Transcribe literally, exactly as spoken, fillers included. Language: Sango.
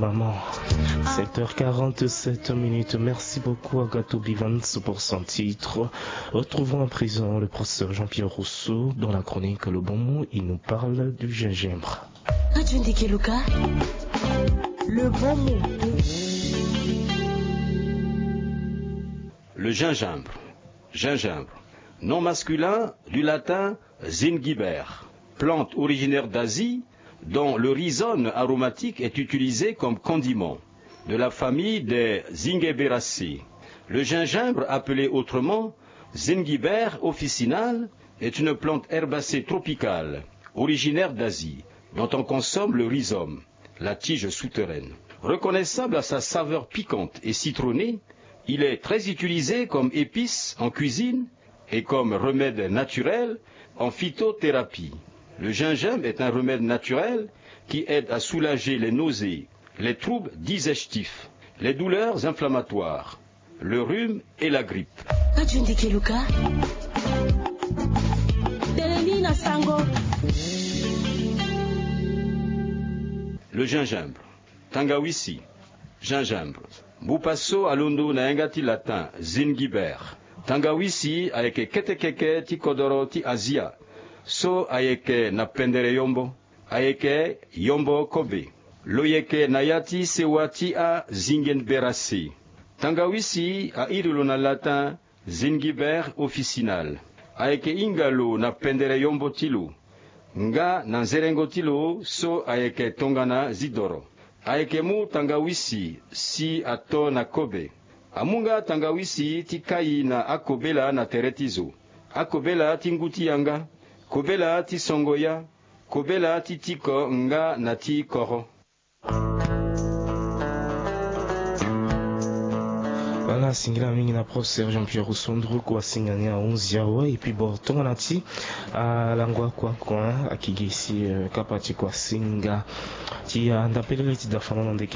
Maman. Sept heures quarante-sept minutes. Merci beaucoup à Gato Bivens pour son titre. Retrouvons à présent le professeur Jean-Pierre Rousseau dans la chronique Le Bon Mot. Il nous parle du gingembre. Le bon mot. Le gingembre. Gingembre. Nom masculin du latin zingiber, plante originaire d'Asie dont le rhizome aromatique est utilisé comme condiment, de la famille des Zingiberacées. Le gingembre, appelé autrement zingiber officinale, est une plante herbacée tropicale, originaire d'Asie, dont on consomme le rhizome, la tige souterraine. Reconnaissable à sa saveur piquante et citronnée, il est très utilisé comme épice en cuisine et comme remède naturel en phytothérapie. Le gingembre est un remède naturel qui aide à soulager les nausées, les troubles digestifs, les douleurs inflammatoires, le rhume et la grippe. Le gingembre. Tangawisi. Gingembre. Mbupa so alondo na yanga ti latin zingiber. Tangawisi ayeke kete keke ti kodoro ti Azia so ayeke na pendere yombo. Ayeke yombo kobe. Lo yeke na ya ti sewa ti azingenberase. Tangawisi a iri lo na latin zingiber officinale. Ayeke hinga lo na pendere yombo ti lo nga na nzerengo ti lo so ayeke tongana zidoro. Ayeke mu tangawisi si ato na kobe. Amu nga tangawisi ti kai na akobela na tere ti zo, akobela ti ngu ti yanga, kobela ti songo ya, kobela ti tiko nga na ti koro. Voilà, singila mingi na professeur Jean-Pierre Rousseau Ndruku asinga ni ahunzi awe. Et puis bon, tongana ti alango akua kua akigisi, euh, kapa ti kua singa ti anda pelele ti dafana na ndeke